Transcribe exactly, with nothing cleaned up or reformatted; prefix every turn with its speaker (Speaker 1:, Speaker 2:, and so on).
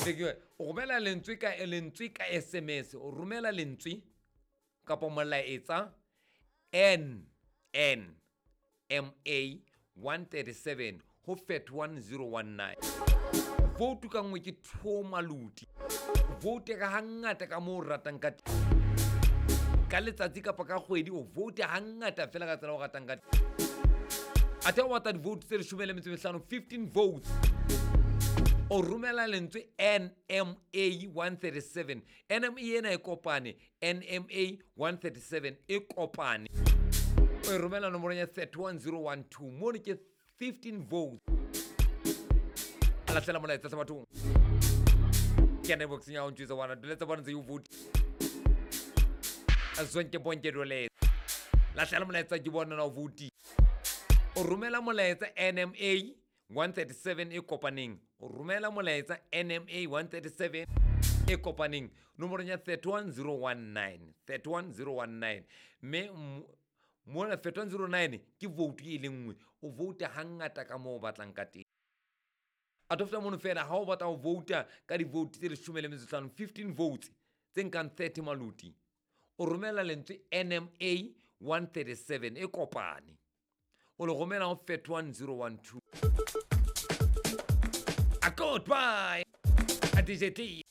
Speaker 1: O romela lentswe ka lentswe ka S M S, o romela lentswe kapa molaetsa N N M A one thirty-seven ho thirty-one zero one nine. Vote ka nngwe ke two maluti. Vote ka hangata ka moo o ratang ka teng. Ka letsatsi kapa ka kgwedi o vote hangata fela ka tsela o ratang ka teng. Athe o batla di-vote tse leshome le metso e mehlano, fifteen votes. O romela lentswe N M A one thirty-seven. N M A ena e kopane, N M A one thirty-seven e kopane. O e romela nomorong ya thirty-one zero one two. Mono ke fifteen votes. Lahlela molaetsa hle bathong. Ke ya networks ya ho ntjwetsa wana, duletsa bona ntse o vote. Zonke bonke dole. Lahlela molaetsa ke bona na o vote. O romela molaetsa N M A one thirty-seven e kopaneng. O romela molaetsa N M A one thirty-seven e kopaneng nomorong ya thirty-one zero one nine, thirty-one zero one nine. Mme mona thirty-one zero nine ke vote e le nngwe. O vote hangata ka moo o batlang ka teng. A to feta mono fela ha o batla ho vouta ka di-vote tse leshome le metso e hlano, fifteen votes tse nkang thirty maluti. O romela lentswe N M A one thirty-seven e kopane. O le romela ho thirty-one zero one two. A goodbye. A D J T.